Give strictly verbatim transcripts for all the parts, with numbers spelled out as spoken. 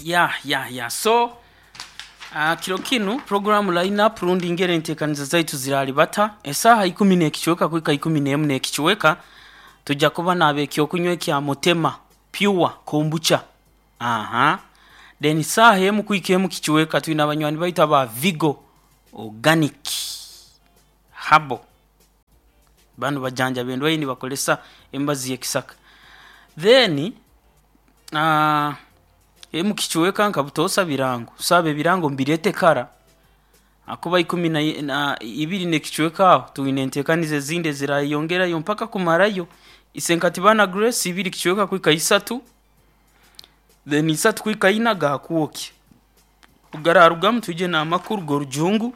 Ya ya ya, so uh, kiro kinu program lineup rundi ngere enteekaniza zaitu ziralibata esaaha ikumi n'ekicweka kuhika ikumi n'emu n'ekicweka. Tujja kuba naaba ekyokunywa ekya Mutema Pure Kombucha. Aha, then saaha emu kuhika emu kicweka twine abanywani baitu aba Vigo Organic Habo. Banu bajanjaba endwaire nibakozesa emibazi y'ekisaka. Then uh, emu kicweka nka butoosa birango, saaba ebirango mbirete kara akuba ikumi na, na ibiri n'ekicweka aho twine enteekaniza ezindi ezirayeyongerayo mpaka kumarayo. Isenkatibana Grace ibiri kicweka kuhika isatu, then isatu kuhika ina gakwokya gararugamu twije n'amakuru g'orujungu.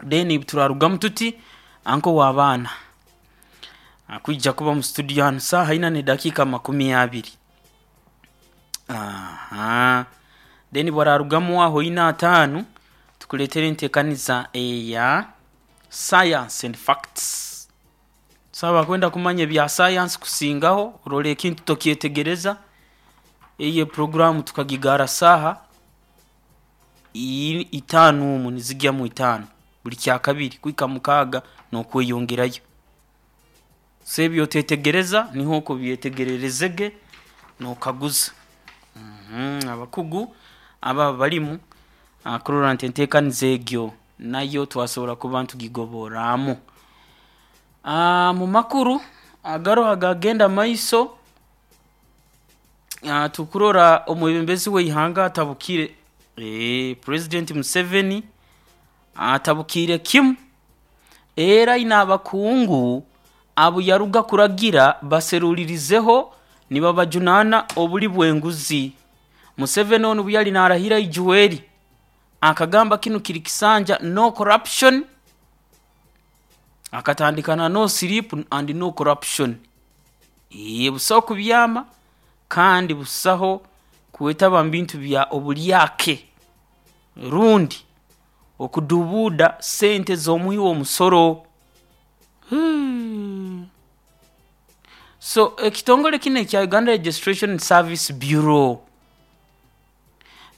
Then turarugamu tuti anko w'abaana akwija kuba mu studio hanu saaha ina n'edakiika makumi abiri. Aha, then bwararugamu aho ina ataano tukuleetera enteekaniza eya Science and Facts. Saaba kwenda kumanya ebya science kusingaho, orora ekintu tokyetegereza, eyo programu tukagigara saaha i- itaano omu nizigya mu itaano buli kyakabiri kuhika mukaaga n'okweyongerayo. So ebi otetegereza niho okubyetegererezege n'okaguza mm abakugu aba balimu ah, kurora nti enteekaniza egyo nayo twasobora kuba ntugigoborramu. Ah, mu makuru agaroho agagenda maiso, ah, tukurora omwebembezi w'ihanga atabukire, eh, President Museveni atabukiire kimu era aine abakungu abu yaruga kuragira baserulirizeho nibabajunaana obuli bw'enguzi. Museveni onu obu yali naarahira ijuweeri akagamba kinu kiri kisanja no corruption, akatandika na no sleep and no corruption. Ee, busaho kubyama kandi busaho kwetaba mu bintu bya obulyake rundi okudubuuda sente z'omuhi w'omusoro. Hmm. So ekitongole kinu ekya Uganda Registration Service Bureau,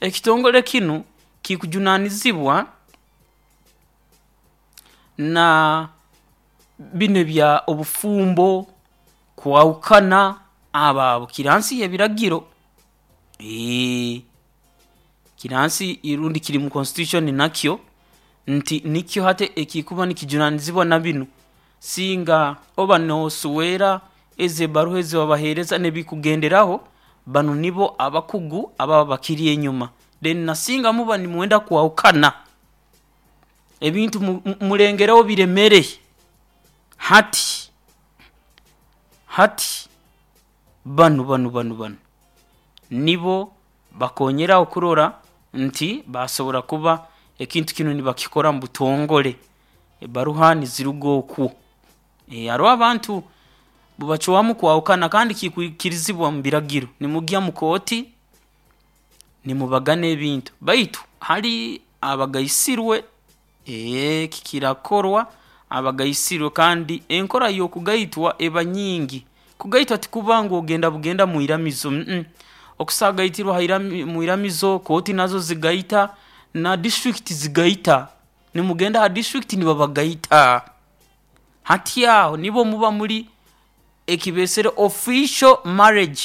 ekitongole kinu kikujunaanizibwa na binu ebya obufumbo, kwahukana, abo abo kiri hansi y'ebiragiro, eeh, kiri hansi rundi kiri mu constitution, nakyo nti nikyo hati ekikuba nikijunaanizibwa na binu. Singa oba nooswera, ezi ebbaruha ezi babaheereza n'ebikugenderaho, banu nibo abakugu ababa bakiri enyuma. Then na singa muba nimwenda kwahukana, ebintu mu- mulengereho biremere, hati hati banu banu banu banu nibo bakoonyeraho kurora nti baasobora kuba ekintu kinu nibakikora mu butongole, ebbaruha niziruga oku. Ee, haroho abantu bacwamu kwahukana kandi kikwikirizibwa mu biragiro, nimugya mu kooti nimubagana ebintu, baitu hali abagaisirwe, ee, eki kirakorwa abagaisirwe. Kandi enkora y'okugaitwa eba nyingi. Kugaitwa tikuba ngu ogenda bugenda mwiramizo, mm okusaagaitirwa ha irami mwiramizo, kooti nazo zigaita na district zigaita, nimugenda ha district nibabagaita. Hati aho nibwo muba muli ekibeesere official marriage,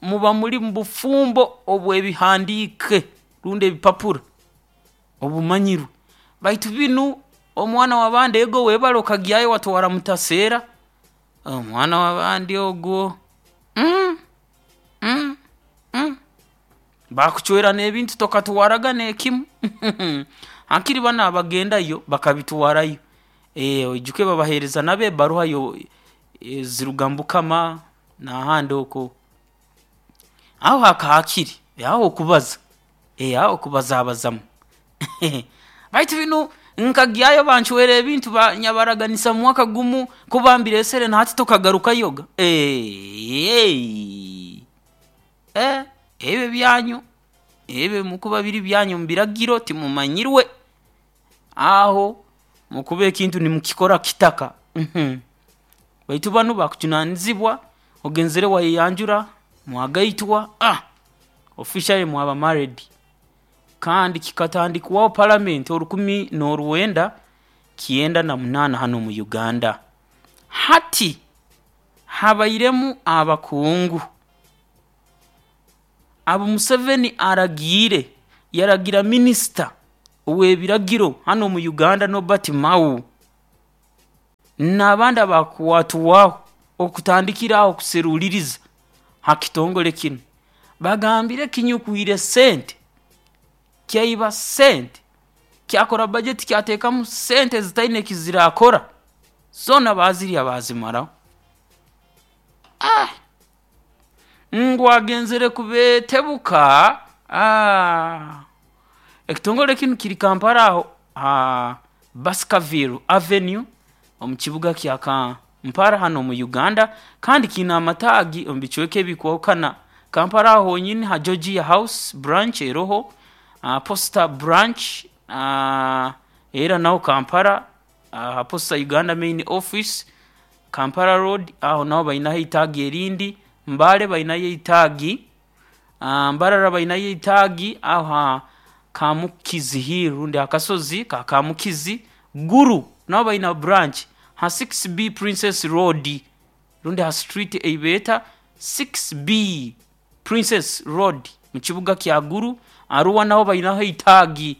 muba muli mu bufumbo obw'ebihandiike rundi ebipapura obumanyirwe. Baitu binu omwana w'abandi ego webale okagyayo watwara mutaseera, omwana w'abandi ogwo, mm mm mm baakucwera n'ebintu tokatwaraga n'ekimu. Hakiri banu abagendayo bakabitwarayo, ee, oijuke babaheereza nabo ebbaruha yo eziruga mbukama n'ahandi oku, aho hakahakire, aho okubaza, ee, aho okubazaabazamu. Baitu binu nkagyayo bancwera ebintu banyabaraganisa mu mwaka gumu kuba mbireesere na hati tokagarukayoga, eeh, ee, ebi byanyu ebi mukuba biri byanyu mu biragiro timumanyirwe, aho mukuba ekintu nimukikora kitaka. Baitu banu bakujunaanizibwa ogenzere wayeyanjura mwagaitwa, aah. Officially mwaba married. Kandi kikatandikwaho parliament orukumi n'orwenda kyenda na munaana hano mu Uganda. Hati habairemu abakungu abo Museveni aragiire, yaragira minisita ow'ebiragiro hano mu Uganda Norbert Mao n'abandi abakwatwaho okutandikira aho kuseruliriza ha kitongole kinu. Bagambire kinyukwire sente, kyaiba sente, kyakora bajeti, kyateekamu sente zitaine kizirakora, zoona baazirya baazimaraho. Ah! Ngu agenzere kubeetebuka. Ah! Ekitongole kinu kiri Kampala aho ha Baskerville Avenue omu kibuga kya Kampala hano mu Uganda, kandi kiine amataagi omu bicweka ebikwahukana. Kampala aho honyini ha Georgia House branch eroho, uh, Posta branch uh, era naho Kampala uh, Posta Uganda main office Kampala Road, aho naho bainaho itaagi erindi. Mbale bainayo itaagi, uh, Mbarara bainayo itaagi aho ha Kamukizi Hill rundi akasozi ka Kamukizi. Guru nabo baina branch ha six B Princess Road rundi ha street eibeeta six B Princess Road mu kibuga kya Guru. Arua naho bainaho itaagi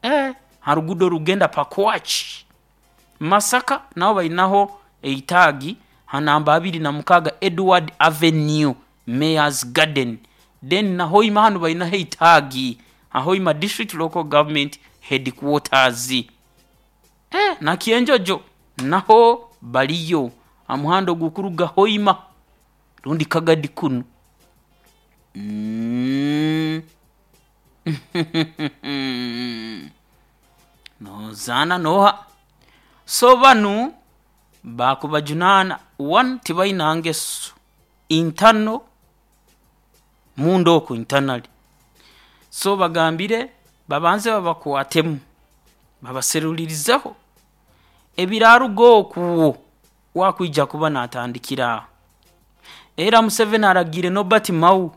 eh, ha rugudo rugenda Pakwach. Masaka naho bainaho itaagi ha namba abiri na mukaga Edward Avenue Mayor's Garden. Then na Hoima hano bainaho itaagi ha Hoima District Local Government Headquarters. Eh, na Kienjojo naho baliyo amuhando gukuruga Hoima rundi Kagadi kunu. Mm. Nozana noha. So banu bakubajunana one tibaina ngeso intano mundo oku internally. So bagambire babanze babakwatemu babaserulirizeho ebiraruga okuwo wakwija kuba natandikira. Era Museveni aragire Norbert Mao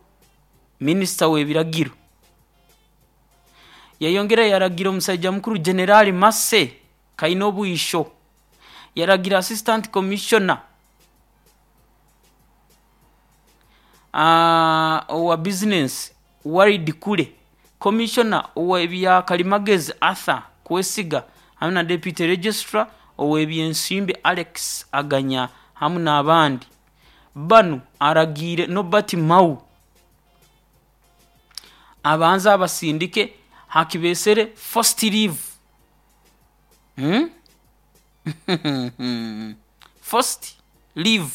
minisita w'ebiragiro, yayongera yaragira omusajja mukuru General Mase Kainobwisho, yaragira assistant commissioner uh, owa business Walid Kule, commissioner ow'ebya Kalimagezi Arthur Kwesiga, hamwe na deputy registrar ow'ebyensimbi Alex Aganya hamwe n'abandi. Banu aragiire Norbert Mao abanze abasindike hakibesere first leave. Hmm? First leave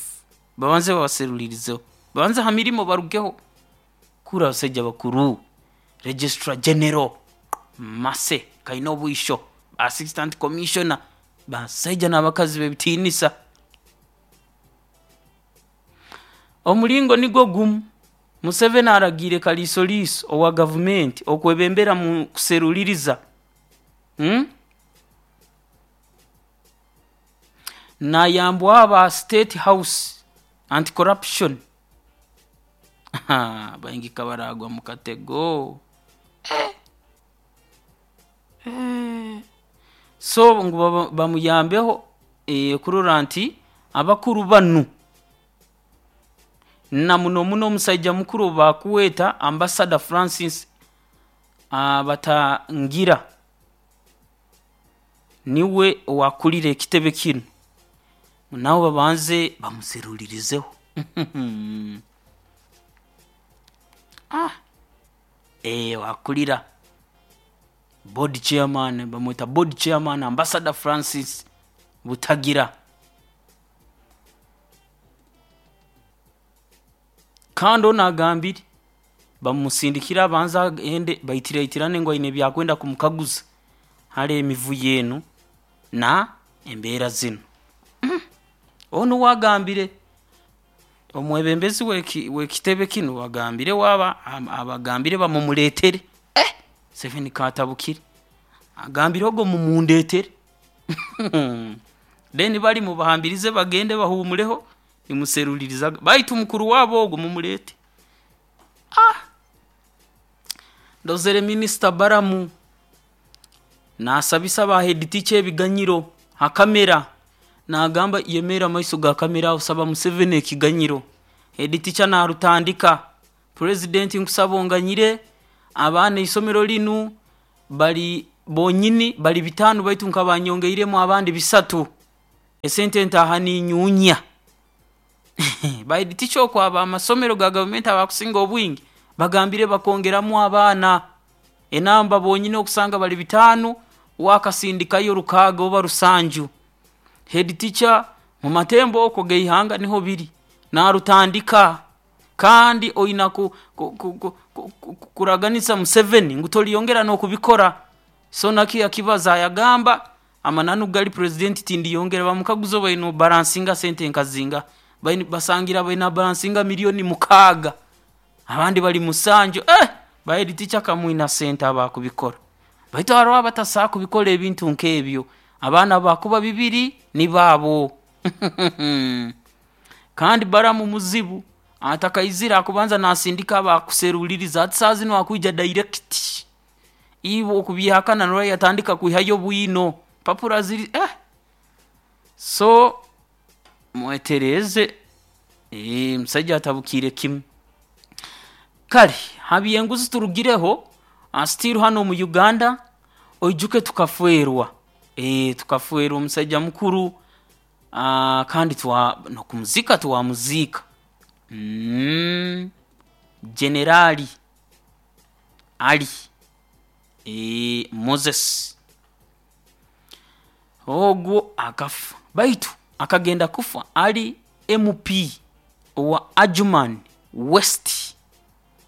babanze babaserulirizeho, babanze ha mirimo barugeho. Kura abasajja bakuru, registrar general Mase Kainobwisho, assistant commissioner, basajja n'abakazi b'ebitiinisa. Omulingo nigwo gumu Museveni aragiire Kaliisoliiso owa gavumenti okwebembera mu kuseruliriza. Hmm? Nayambwa aba State House anti-corruption. Baingi kabaragwa mu katego. Eh. Eh. So ngu bamuyambeho eh, kurora nti abakuru banu na muno muno omusajja mukuru bakuweta Ambassador Francis Batangira niwe owakulira ekitebe kinu, nabo babanze bamuserulirizeho. Ah, eh, wakulira board chairman, bamwita board chairman Ambassador Francis Butagira. Kandi ono agambire bamusindikira abanza agende baitiraitirane ngu aine ebyakwenda kumukaguza hali emivuyo enu na embeera zinu. Mm. Ono wagambire omwebembezi w'ekitebe kinu wagambire waba abagambire bamumuletere. Eh, Museveni katabukire agambire ogo mumundetere. Then bali mubahambirize bagende bahumuleho nimuseruliriza baitu mukuru wabo ogo mumulete. Ah, Ndozere minisita Baramu nasabisa ba head teacher ebiganyiro ha kamera, nagamba yemera amaiso ga kamera osaba Museveni ekiganyiro. Head teacher narutandika, president nkusaba onganyire abaana isomero linu bali bonyini bali bitaano baitu nkabanyongeiremu abandi bisatu, esente ntaaha ninyuunya. Ba head teacher okwaba amasomero ga gavumenti abakusinga obwingi bagambire bakongeramu abaana enamba bonyini okusanga bali bitaano wakasindikayo rukaaga oba rusanju. Head teacher mu matembo okwo geihanga niho biri narutandika, kandi oina ku, ku, ku, ku, ku, kuraganisa Museveni ngu toliyongera n'okubikora. So naki akibaza yagamba amananu gali president tindiyongera. Bamukaguza baina balansinga sente nkazinga, basangira baina balansinga milioni mukaaga, abandi bali musanju. Eh, ba head teacher kamwina sente abakubikora, baitu hariho abatasobola kubikora ebintu nk'ebyo. Abaana bakuba bibiri ni baabo. Kandi Baramu muzibu atakaizira akubanza nasindika abakuseruliriza, ati saa zinu akwija direct iwe okubyehakana norora yatandika kwihayo bwino papura ziri eh. So mwetereze, eh, musaija atabukiire kimu. Kale habyenguzi turugireho still hano omu Uganda oijuke tukafwerwa, eh, tukafwerwa omusaija mukuru, ah, kandi twa nokumuzika twamuziika. Mm, Generali Ali eh, Moses ogwo akafa, baitu akagenda kufa ali M P owa Adjumani West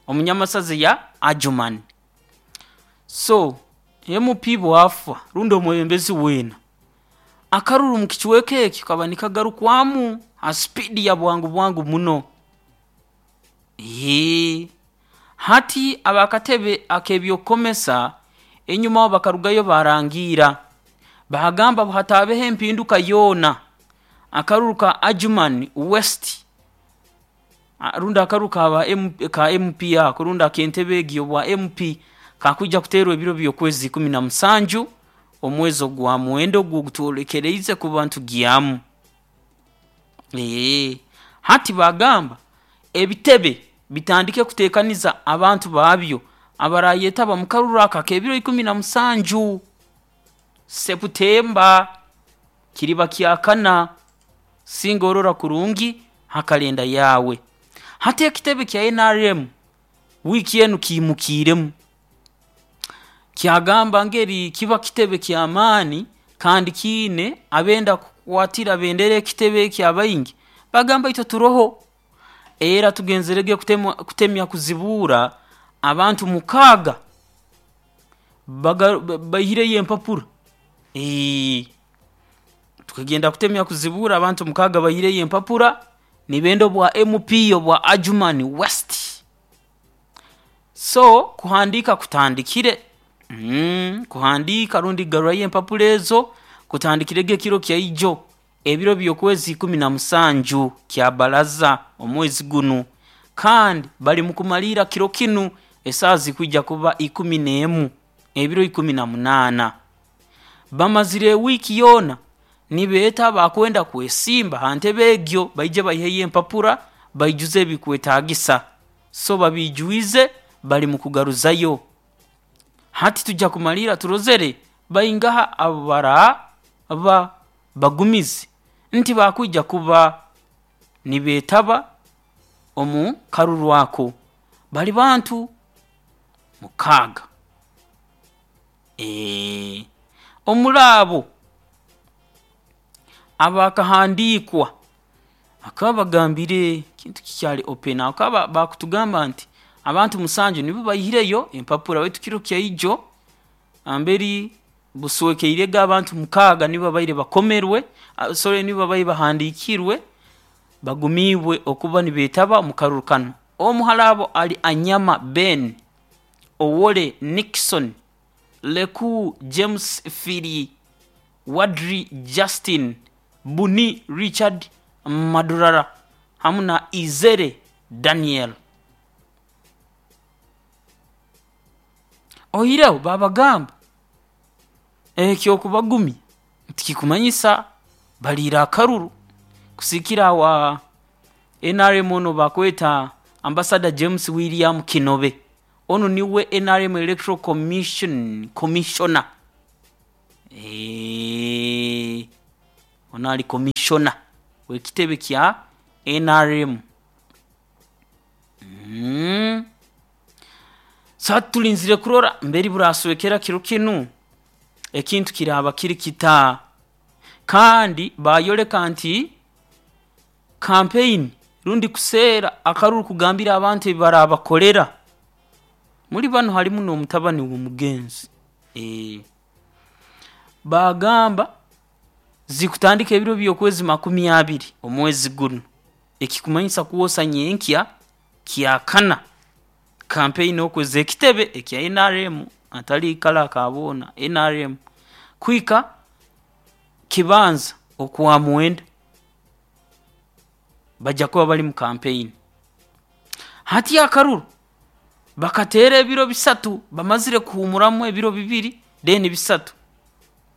omunyamasaza ya Adjumani. So M P bwafa rundi omwebembezi weena akaruru mu kicweka ekyo kaba nikagarukwamu ha spidi ya bwangu bwangu muno. Ee, hati abakatebe ak'ebyokukomesa enyuma bakarugayo barangiira bagamba hatabeho empinduka yoona akaruru ka Adjumani West rundi akaruru ka, ka M P ako rundi ak'entebe egi obwa M P kakwija kuteerwa ebiro by'okwezi ikumi na musanju omwezi ogwa mwenda ogwo ogutwolekereize kuba ntugyamu. Ee, hati bagamba ebitebe bitandike kuteekaniza abantu baabyo abarayetaba mu karuru aka ak'ebiro ikumi na musanju Seputemba kiriba kyakana, singa orora kurungi ha kalenda yaawe. Hati ekitebe kya N R M wiiki enu kiimukiiremu kyagamba ngeri kiba kitebe ky'amaani kandi kiine abenda kukwatira bendera ekitebe eki abaingi bagamba itwe turoho, era tugenzerege kutemwa, kutemya kuzibuura abantu mukaaga baihireyo empapura. Ee, tukagenda kutemya kuzibuura abantu mukaaga baihireyo empapura nibenda obwa M P obwa Adjumani West. So kuhandiika kutandikire, mm, kuhandiika rundi kugarurayo empapura ezo kutandikirege ekiro kyaijo ebiro by'okwezi ikumi na musanju kya baraza omwezi gunu, kandi bali mukumaliira kiro kinu esaaha zikwija kuba ikumi n'emu ebiro ikumi na munaana. Bamazire ewiiki yoona nibeeta abakwenda kwesimba ha ntebe egyo baije baiheyo empapura baijuze ebikwetaagisa. So babiijwize bali mukugaruzayo. Hati tujja kumaliira turozere baingaha abaraba bagumize nti bakwija kuba nibeetaba omu karuru ako. Bali bantu mukaaga. Ee, omuri abo abakahandiikwa bakaba bagambire kintu kikyali open, bakaba bakutugamba nti abantu musanju nibo baihireyo empapura, baitu kiro kyaijo amberi buswekeirege abantu mukaaga nibo babaire bakomerwe, sorry nibo babaire bahandiikirwe bagumiibwe okuba nibeetaba omu karuru kanu. Omu hali abo ali Anyama Ben, Owole Nixon, Leku James Phiri, Wadri Justin, Buni Richard Madurara hamu na Izere Daniel. Oihireho babagamba ekyokubagumya tikikumanyisa baliire akaruru kusigiikira wa N R M onu bakweta Ambassador James William Kinobe, onu niwe N R M Electoral Commission Commissioner. Eee, onu ali commissioner w'ekitebe kya N R M. Mm. So hati tulinzire kurora mberi buraswekera kiro kinu ekintu kiraaba kiri kita, kandi bayoleka nti campaign rundi kuseera akaruru kugambira abantu ebi barabakolera muri banu harimu n'omutabani w'omugenzi. E, bagamba zikutandika ebiro by'okwezi makumi abiri omwezi guno, ekikumanyisa kwosa nyenkya kyakana campaign okweza ekitebe ekya N R M atali kala akaboona N R M kuhika kibanza okwa mwenda bajja kuba bali mu campaign. Hati akaruru bakateera ebiro bisatu, bamazire kuhumuramu ebiro bibiri then bisatu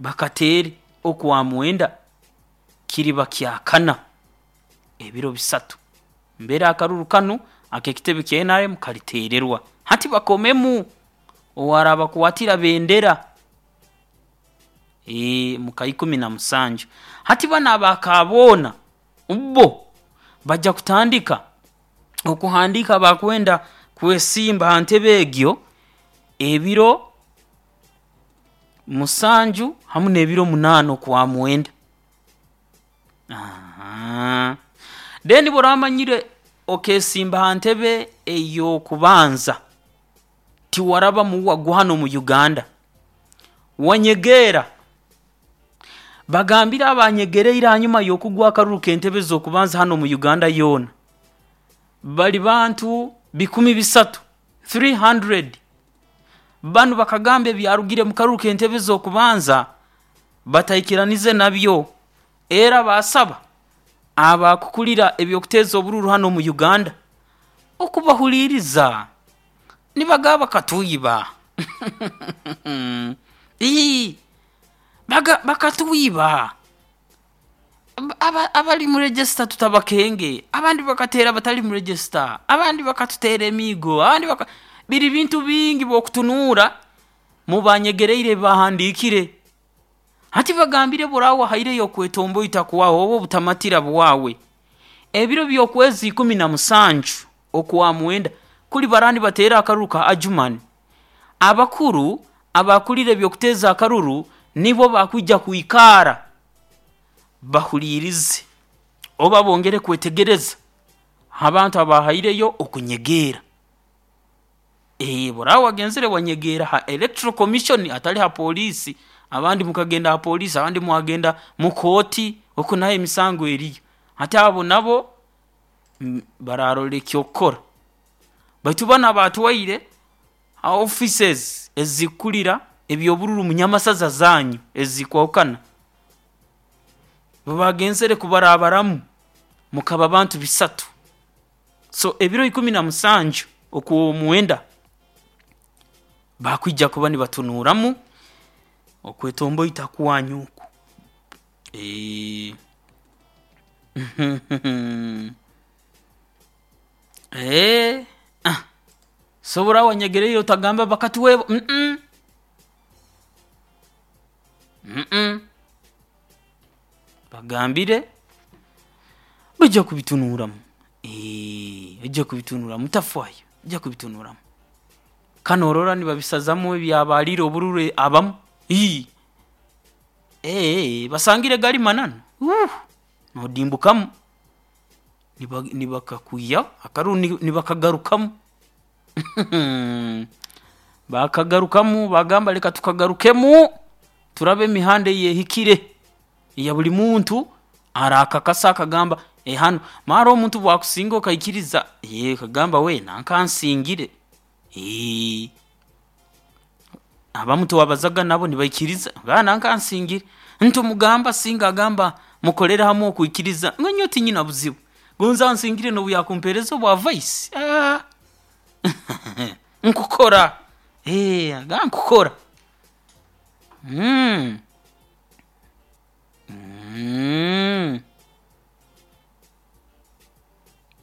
bakateere okwa mwenda kiriba kyakana ebiro bisatu mbere akaruru kanu ak'ekitebe kya N R M kaliteererwa. Hati bakomemu owarabakwatira bendera e, muka ikumi na musanju. Hati banu abakaboona bo bajja kutandika okuhandiika bakwenda kwesimba ha ntebe egyo ebiro musanju hamu n'ebiro munaana okwa mwenda. Ahaa. Then bw'oramanyire okeesimba ha ntebe ey'okubanza tiwaraba muwa hano mu Uganda, wanyegeera, bagambire abanyegereire hanyuma y'okugwa akaruru k'entebe z'okubanza hano mu Uganda yoona bali bantu bikumi bisatu three hundred. Banu bakagamba ebyarugire mu karuru k'entebe z'okubanza bataikiranize nabyo, era basaba abakukulira ebyokuteeza obururu hano mu Uganda okubahuliiriza nibagaba bakatuiba. Ii, baga bakatuiba aba, abali mu register tutabakenge, abandi bakateera batali mu register, abandi bakatuteera emiigo, abandi baka biri bintu bingi bw'okutunuura mubanyegereire bahandiikire. Hati bagambire burawa haireyo okwetomboita kwawe oba obutamatira bwawe ebiro by'okwezi ikumi na musanju okwa mwenda kuli barani bateera akaruru ka Adjumani. Abakuru abakulira ebyokuteeza akaruru nibo bakwija kwikaara bahuliirize oba bongere kwetegereza abantu abahaireyo okunyegeera. E, burawa wagenzere wanyegeera ha Electoral Commission atali ha polisi, abandi mukagenda ha polisi, abandi mwagenda mu kooti oku nayo emisango eriyo. Hati abo nabo bararora ekyokukora. Baitu banu abatwaire ha offices ezikulira ebyobururu mu nyamasaza zanyu ezikwahukana babagenzere kubarabaramu mukaba bantu bisatu. So ebiro ikumi na musanju okw'omwenda bakwija kuba nibatunuuramu okwetomboita kwanyu oku. E, e, ah, sobora wanyegereire otagamba bakatuweebo mm mm bagambire bajja kubitunuuramu. E, bajja kubitunuuramu tafaayo bajja kubitunuuramu. Kanu orora nibabisazamu ebyabaaliire obururu abamu ii ee basangire gali mananu uh noodimbukamu niba nibakakwihaho akaruru nibakagarukamu. Bakagarukamu bagamba leka tukagarukemu turabe emihanda ey'ehikire eya buli muntu araakakasa akagamba eh hanu mara omuntu obu akusinga okaikiriza ee okagamba we nanka ansingire ee abamu twabazaga nabo nibaikiriza ba nanka ansingire ntumugamba singa agamba mukolere hamu okwikiriza ngu nyowe tinyina buzibu gonza ansingire n'obu yakumpeereza obwa vice aah nkukora. Eh, agamba nkukora. Mm. Mm.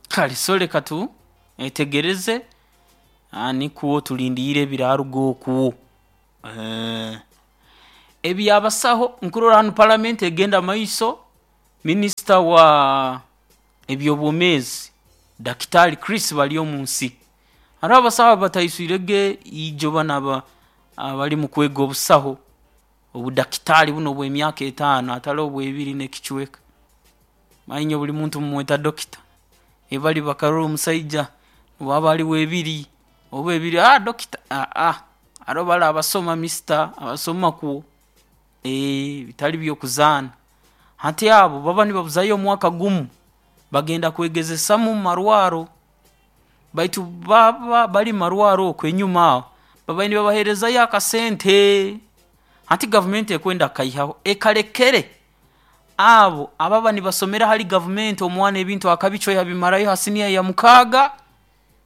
Kale so leka tu etegereze nikwo tulindiire ebiraruga okwo. Eh, ebyabasaho nkurora hanu palamenti egenda mumaiso, minisita wa eby'obwomeezi Dakitali Chris Baryomunsi, haroho abasaho abataiswirege ijo banu aba abali mukwega obusaho obudakitaali bunu obw'emyaka etaano hatali obw'ebiri n'ekicweka. Manya buli muntu mumweta dokita, bali bakarora omusaija obu aba ali w'ebiri oba ebiri, aa dokita, aa haroho bali abasoma mister, abasoma kwo, bitali by'okuzaana. Hati abo baba nibabuzayo omwaka gumu, bagenda kwegezesamu mumarwaaro, baitu baba bari mumarwaaro oku enyuma aho babaire nibabaheerezayo akasente, hati gavumenti ekwenda kukaihaho ekalekere abo ababa nibasomera hali gavumenti omwana ebintu akabicwa yabimarayo ha siniya ya mukaaga,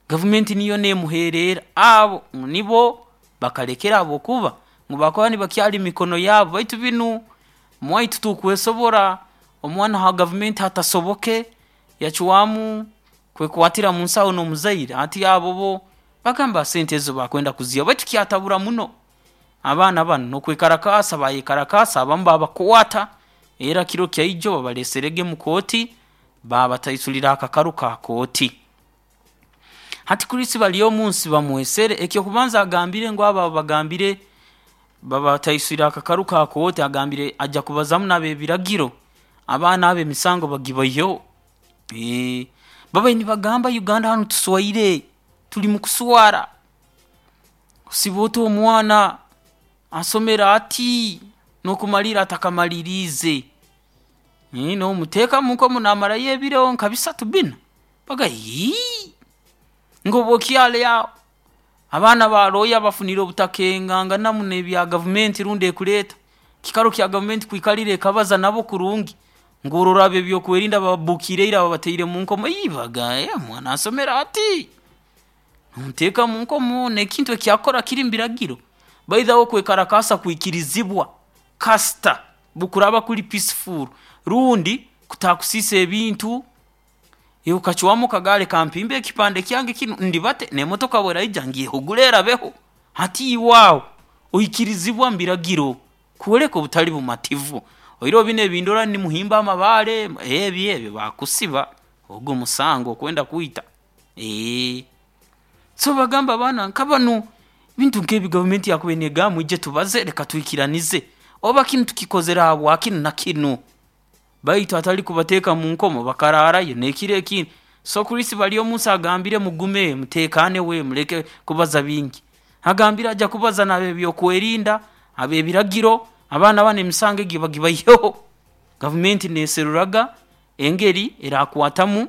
gavumenti niyo neemuheererra, abo nibo bakalekere habwokuba ngu bakuba nibakyali mumikono yaabo, baitu binu omwaitu tukwesobora, omwana ha gavumenti hatasoboke yacwamu kwekwatira munsaho n'omuzaire, hati abo bo bagamba sente ezo bakwenda kuziihaho baitu kyatabura muno abaana banu n'okwekarakaasa bayekarakaasa abamu baabakwata, era kiro kya ijo babaleeserege mu kooti baabataisurira akakaru ka kooti. Hati Chris Baryomunsi bamwesere, eky'okubanza agambire ngu abo abagambire babataiswire akakaru ka kooti agambire ajja kubazaamu n'ab'ebiragiro abaana abo emisango bagibaiheho. Babaire nibagamba Uganda hanu tuswaire, tuli mukuswara, osiba ota omwana asomere ati n'okumalirra atakamaliriize, noomuteeka munkomo naamarayo ebiro nka bisatu bbina, bagamba iii, ngu oba okyali aho abaana ba lawyer bafunire obutakenganganamu n'ebya gavumenti rundi ekureeta, ekiikaro kya gavumenti kwikarra ekabaza nabo kurungi, ngu orora ab'ebyokwerinda bababuukiire ira babataire munkomo, ii bagamba omwana asomere ati, nomuteeka munkomo n'ekintu eki akukora kiri mubiragiro? By the way okwekarakaasa kwikirizibwa kasita bukuraaba kuli peaceful rundi kutakusiisa ebintu, iwe okacwamu okagamba leka mpimbe ekipande kyange kinu ndibate n'emotoka obu eraija ngyehugule erabeho, hati iwe aho oikirizibwa mubiragiro kwoleka obutali bumativu, oihireho binu ebindora nimuhimba amabaare, ebi ebi bakusiba, ogu musango okwenda kwita, so nibagamba abaana nka banu ebintu nkebi gavumenti yakubaire negamba mwije tubaze leka twikiranize oba kinu tukikozere habwa kinu na kinu, baitu hatali kubateeka munkomo bakaraarayo n'ekiro ekindi. So Chris Baryomunsi agambire mugume muteekaane we muleke kubaza bingi, agambire ajja kubaza n'ab'ebyokwerinda, ab'ebiragiro, abaana banu emisango egi bagibaiheho, gavumenti neeseruraga engeri eraakwatamu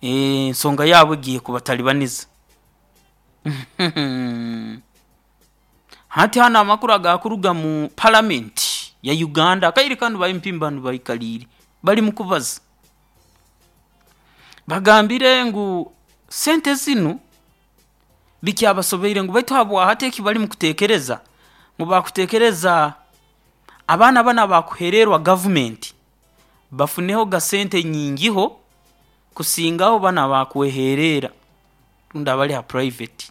ensonga yaabo egi ey'okubataribaniza. Hati hanu amakuru agakuruga mu palamenti ya Uganda, akaire kanu ba M P banu baikaliire bali mukubaza, bagambire ngu sente zinu bikyabasobeire ngu baitu habwahati ekibarimu kuteekereza, ngu baakuteekereza abaana banu abakuheererwa gavumenti bafunehoga sente nyingiho kusingaho banu abakweheererra rundi abali ha private,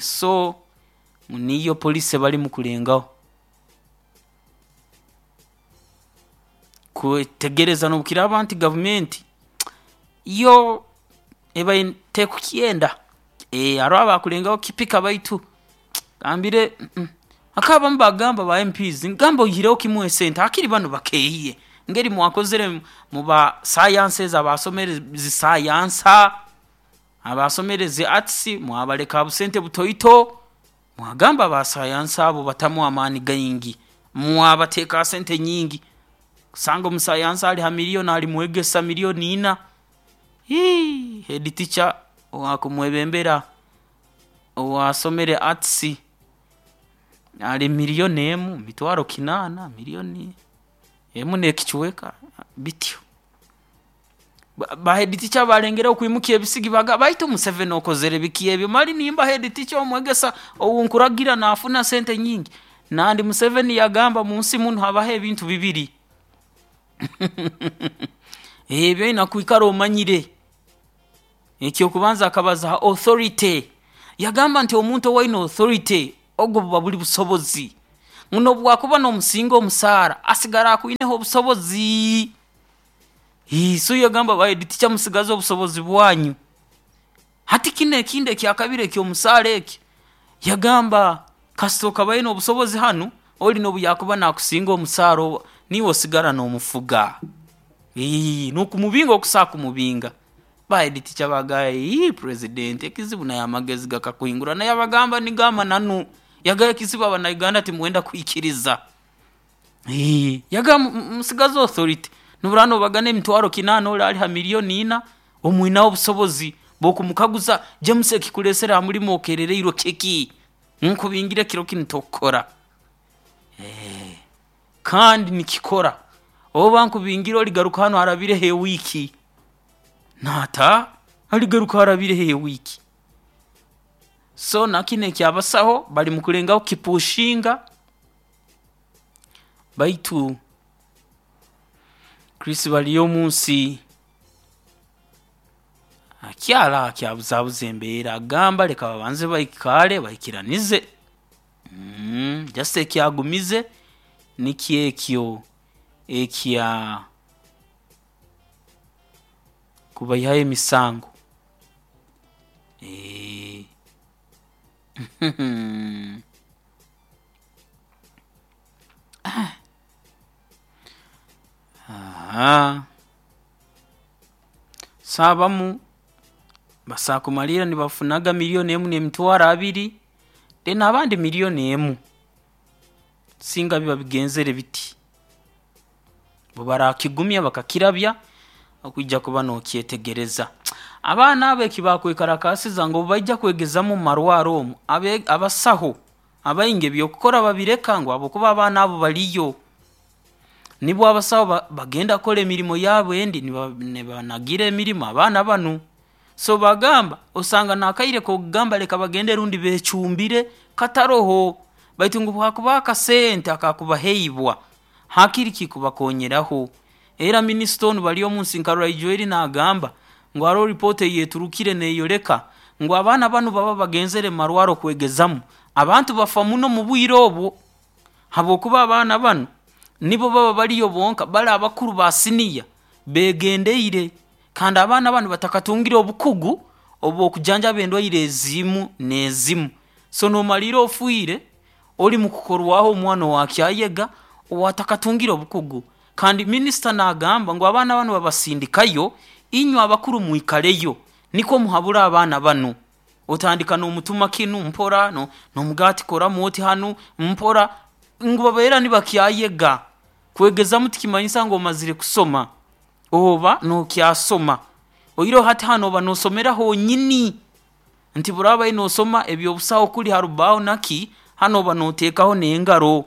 so niyo policy barimu kulengaho kwetegereza nobu kiraaba nti gavumenti yo ebaire tekukyenda, haroho abakulengaho kukipika baitu agambire hakaba abamu bagamba ba M Ps gamba oihireho kimu esente hakiri banu bakeehiye engeri mwakozere muba sciences abasomere zi science, abasomere zi arts mwabaleka habusente butoito, mwagamba aba science abo batamu amaani gaingi, mwabateeka ha sente nyingi, osanga omu science ali ha million ali mwegesa million ina, iii head teacher owaakumwebembera owaasomere arts ali million emu mitwaro kinaana, million emu n'ekicweka bityo. Ba head teacher balengera okwimukia ebisigi baga baitu Museveni okozere biki ebyo mali nimba head teacher omwegesa obunkuragira nafuna sente nyingi. Nandi Museveni yagamba munsi muno habaho ebintu bibiri ebyo oina kwikara omanyire. Ekyokubanza akabaza ha authority, yagamba nti omuntu owaine authority ogwo buba buli busobozi, ngu nobwakuba nomusinga omusaara asigara akwineho obusobozi. So yagamba ba head teacher musigaze obusobozi bwanyu. Hati kinu ekindi ekyakabiri ekyomusaara eki, yagamba kasita okaba oine obusobozi hanu ori nobu yakuba nakusinga omusaara niiwe osigara nomufuga, nokumubinga okusobola kumubinga. Ba head teacher bagamba ii president ekizibu naye amagezi gakakuhingurana, naye yabagamba nigo amananu. Yagamba ekizibu abanauganda timwenda kwikiriza. Yagamba musigaze authority, nobu oraaba nobagana emitwaro kinaana ori ali ha millioni ina, omwineho obusobozi bwokumukaguza James ekikureesere ha murimo okerereirwe kiki? Nkubingire kiro kinu tokukora. Kandi nikikora, oba nkubingire origaruka hanu harabireho ewiiki, naata origaruka harabireho ewiiki. So nakinu ekyabasaho bari mukulengaho kukipushinga baitu Chris Baryomunsi akyali aho akyabuzabuza embeera agamba leka babanze baikaale baikiranize. Mm, just ekyagumize nikyo ekyo ekya kubaihaho emisango. Ahaa, so abamu basobola kumaliirra nibafunaga millioni emu n'emitwaro abiri, then abandi millioni emu, singa biba bigenzere biti, obu barakigumya bakakirabya nokwija kuba nokyetegereza. Abaana abo eki bakwekarakaasiza ngu obu baija kwegezaamu mumarwaaro omu, abe abasaho abaingi ebyokukora babireka ngu habwokuba abaana abo bariyo, nibo abasaho bagenda kukora emirimo yaabo endi nibanagira emirimo abaana banu. So bagamba osanga n'akaire kokugamba leka bagende rundi beecumbire kataroho, baitu ngu obu hakubaho akasente akakubaheibwa hakiri kikubakoonyeraho. Era minisita onu Baryomunsi nkarora ijo eri naagamba ngu haroho report eyeeturukire neeyoleka ngu abaana banu baba bagenzere mumarwaaro kwegezamu, abantu bafa muno mubwire obu habwokuba abaana banu nibo baba bariyo bonka, bali abakuru ba senior beegendeire kandi abaana banu batakatungire obukugu obwokujanjaba endwaire ezimu n'ezimu, so nomaliirra ofiire ori mukukorwaho omwana owaakyayega owaatakatungire obukugu. Kandi minisita naagamba ngu abaana banu babasindikayo, inywe abakuru mwikareyo nikwo muhabure abaana banu, otandika nomutuma kinu mpora, nomugamba oti koramu oti hanu mpora, ngu babeera nibakyayega. Kwegezamu tikimanyisa ngu omazire kusoma, oba nookyasoma, oihireho hati hanu oba noosomera honyini, nti obu oraaba noosoma eby'obusaho kuli harubbaaho naki, hanu oba nooteekaho n'engaro,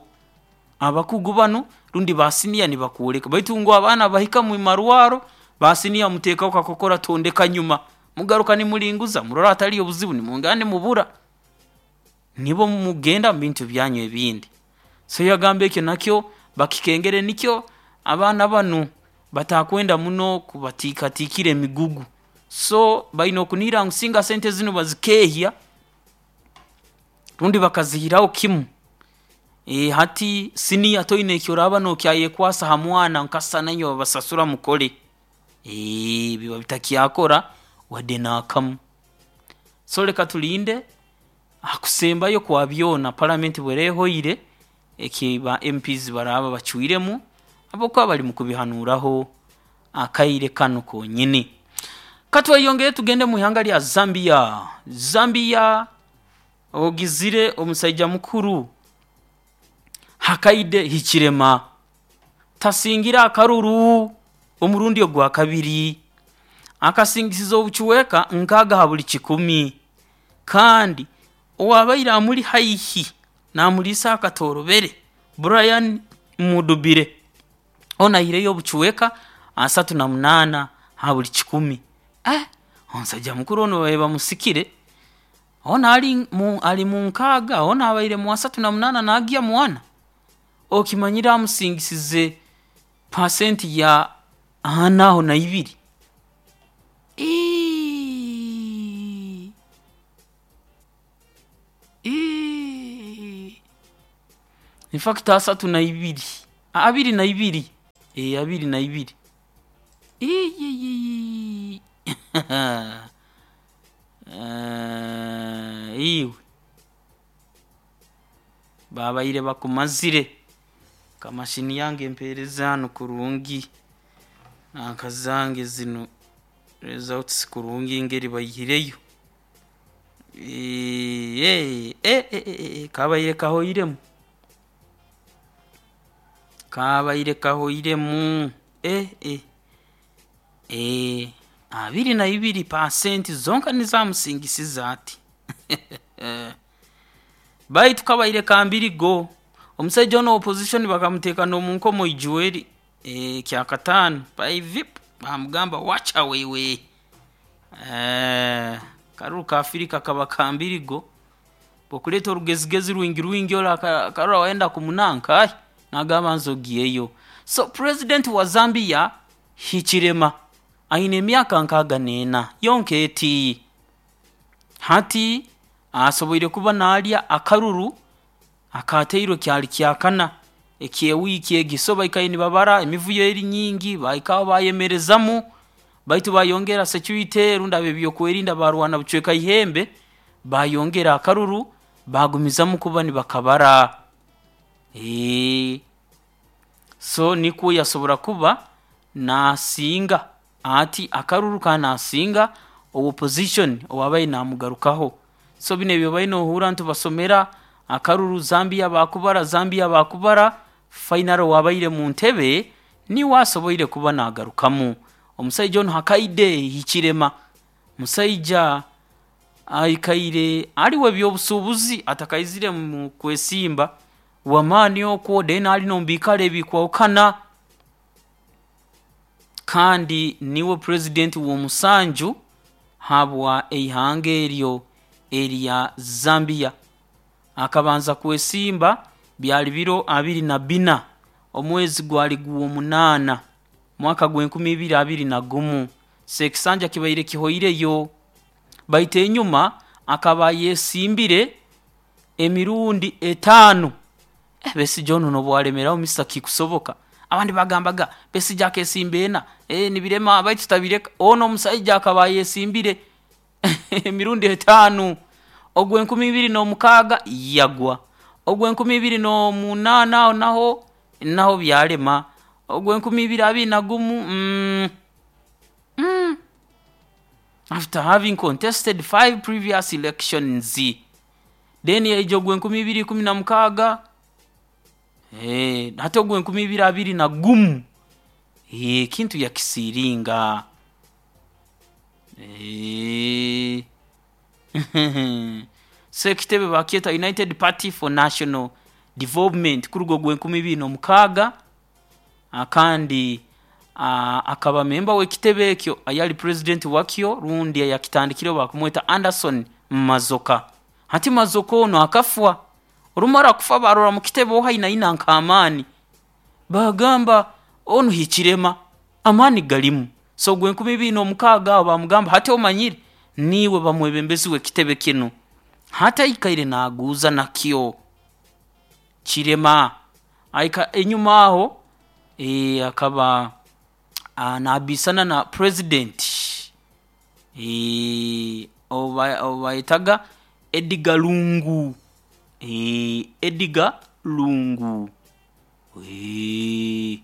abakugu banu rundi ba senior nibakwoleka baitu ngu abaana bahika mumarwaaro, ba senior muteekaho kakokora tondeka nyuma, mugaruka nimuringuza murora hataliyo obuzibu nimwongera nimubura, nibo mugenda mubintu byanyu ebindi. So yagamba ekyo nakyo bakikengere nikyo abaana banu batakwenda muno kubatiikatiikira emigugu, so baine okunihira ngu singa sente zinu bazikeehya rundi bakaziihiraho kimu, hati senior toine eki oraaba nookyayekwasa ha mwana nkasisana inywe babasasura mukole, biba bitakyakora wadde naakamu. So leka tulinde hakusembayo kwa byoona parliament obu eraaba ehoire, eki ba MPs baraaba bacwiremu habwokuba bari mukubihanuuraho akaire kanu konyini. Katweyongereyo tugende mwihanga rya Zambia. Zambia ogizire omusaija mukuru Hakainde Hichilema tasingire akaruru omurundi ogwakabiri, akasingisize obucweka nkaaga ha buli kikumi, kandi owaabaire amuri haihi naamuriisa akatoorobere Brian Mundubile onu aihireyo obucweka asatu na munaana Ha buli kikumi. Eh, omusajja mukuru onu babaire bamusikire, onu ali mu ali mu nkaaga, onu abaire mu asatu na munaana naagya mu ana, okimanyire amusingisize pasenti ya ana aho na ibiri. Iiii iii infact asatu na ibiri, abiri na ibiri, ee abiri na ibiri, iiii iwe babaire bakumazire. Ka machine yange empeereze hanu kurungi nanka zange zinu results kurungi engeri baihireyo, eeh eh eh eh kabaire kahoiremu, kabaire kahoiremu eh eh eeh abiri na ibiri pasenti zonka nizo amusingisize ati. Baitu kabaire ka mbirigo, omusaija onu opposition bakamuteeka n'omunkomo Ijweri ee kyakataano vip baamugamba wacha wewe, akaruru ka Afrika kaba ka mbirigo, obu okuleeta orugezigezi rwingi rwingi ori akarora wayenda kumunanka ai naagamba nze ogyeyo. So president wa Zambia Hichilema aine emyaka nkaaga n'ena yonka eti, hati asoboire kuba naalya akaruru akaateirwe kyali kyakana eky'ewiiki egi, so baikaire nibabara emivuyo eri nyingi baahika aho baayemerezamu baitu baayongera security rundi ab'ebyokwerinda baarwana bucweka ihembe baayongera akaruru baagumizaamu kuba nibakabara, eeh so nikwo yasobora kuba naasinga ati akaruru kandi naasinga owa opposition owaabaire naamugarukaho. So binu ebi obaire noohurra ntubasomera akaruru Zambia baakubara, Zambia baakubara, finally owaabaire muntebe niwe asoboire kuba naagarukamu. Omusaija onu Hakainde Hichilema musaija aikaire ali w'ebyobusuubuzi atakaizire mu kwesimba, w'amaani okwo then ali n'omu biikaro ebikwahukana kandi niwe president w'omusanju habwa ihanga eryo erya Zambia. Akabanza kwesimba byali biro abiri na bbina omwezi gwali gw'omunaana mwaka gw'enkumi ibiri abiri na gumu, so ekisanja kibaire kihoireyo, baitu enyuma akaba ayesimbire emirundi etaano. Eh Besigye onu nobu alemeraho Mister kikusoboka, abandi baagambaga Besigye akeesimba ena, eeh nibirema baitu tabireka, onu omusaija akaba ayesimbire emirundi etaano, ogw'enkumi ibiri n'omukaaga yagwa, ogw'enkumi ibiri n'omunaana aho naho naho byalema, ogw'enkumi ibiri abiri na gumu mmh mmh after having contested five previous elections, then yaija ogw'enkumi ibiri ikumi na mukaaga, eeh hati ogw'enkumi ibiri abiri na gumu eeh ekintu yakisiiringa, eeh so ekitebe bakyeta United Party for National Development kuruga ogw'enkumi ibiri n'omukaaga kandi akaba member w'ekitebe ekyo ayali president wakyo rundi ayakitandikireho bakumweta Anderson Mazoka. Hati Mazoka onu akafwa, orumara kufa baarora mu kitebe oha aina aina nk'amaani, baagamba onu Hichilema amaani galimu, so ogw'enkumi ibiri n'omukaaga aho baamugamba hati omanyire niiwe ba mwebembezi w'ekitebe kinu. Hati aikaire naaguuza nakyo Chilema, aika enyuma aho ee akaba naabiisana na president ou ba ou baayetaga Edgar Lungu, eeh Edgar Lungu eeh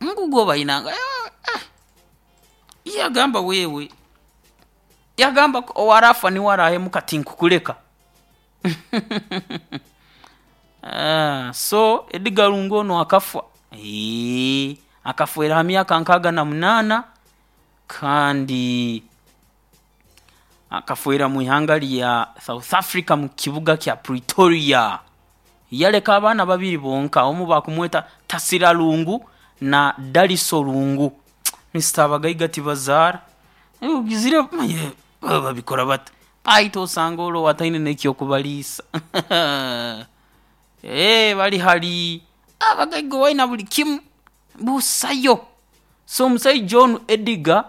ngugo bainanga eeh yagamba wewe yagamba owaraafa niwe araahemuka tinkukuleka so Edgar Lungu onu akafwa eeh akafweera ha myaka nkaaga na munaana kandi akafweera mwihanga rya South Africa mukibuga kya Pretoria. Yaleka abaana babiri bonka omu bakumweta Tasila Lungu na Daliso Lungu. Mister abagaiga tibazaara. Ogizire manye baba babikora bata, baitu osanga oroho ataine n'ekyokubaliisa. Eeh, bali hali abagaiga owaina buli kimu, busayo. So omusaija onu Edgar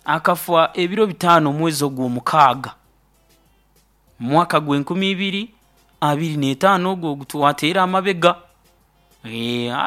akafa ebiro bitaano omwezi ogw'omukaaga, mwaka gw'enkumi ibiri abiri n'etaano ogu ogutwateera amabega, eeh.